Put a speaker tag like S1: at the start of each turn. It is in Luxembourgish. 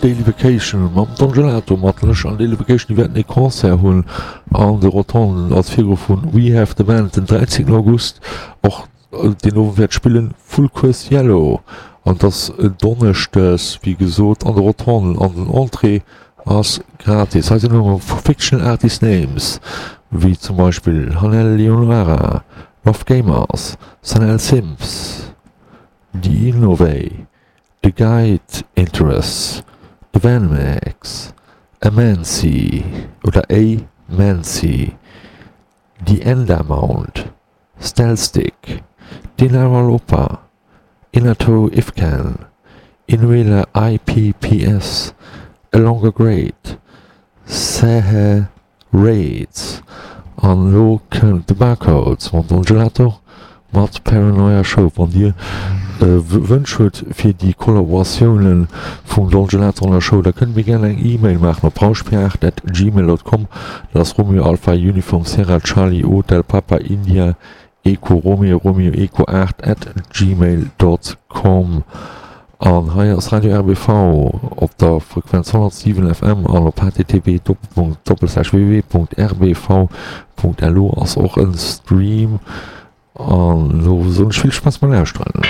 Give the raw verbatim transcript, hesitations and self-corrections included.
S1: Daily Vacation mam Don Gelato mat lech an Daily Vacation, déi wäerten ee Concert hunn an de Rotonden als Virgrupp vun We Have The Band den dräizéngten August. Och deen Owend wäert spillen Full Course Yellow an et ass Donneschdes wéi gesot an de Rotonden an den Entrée ass gratis. Hei sinn elo Fictional Artist Names wéi zum Beispill Hanel Leonora, Rough Gamers, Sanel Sims, The Innovay, The Guide Interests, The Van Max, Amancy oder A Mancy, The Endamount, Stelstick, Dinara Lopa, Inato Ifcan, Inuela I P P S, A Longer Great, Sahe Raids an elo kënnt de Barcodes mam Don Gelato mat Paranoia Show. Wann dir Wënsch hutt fir déi Kollaboratioune vum Don Gelato an der Show, da kënnt mir gären eng E-Mail maachen op rauschpiart at gmail dot com. Dat ass Romeo Alpha Uniform Sierra Charlie Hotel Papa India Echo Romeo Romeo Echo aacht at gmail dot com. An hei ass Radio R B V op der Frequenz honnertsiwen F M an op H T T P Doppelpunkt Doppelslash W W W Punkt R B V Punkt L U ass och en Stream. An elo soen ech vill Spaass beim Lauschteren.